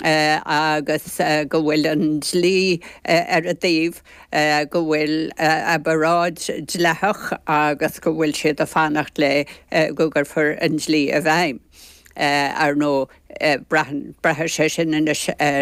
Agus go bhfuil an dlí ar a dtaobh, go bhfuil a bparáid dleathach agus go bhfuil siad ag fanacht le go gcuirfear an dlí i bhfeidhm. Ar ndóigh, braitheann, braithfidh sé sin anois ar.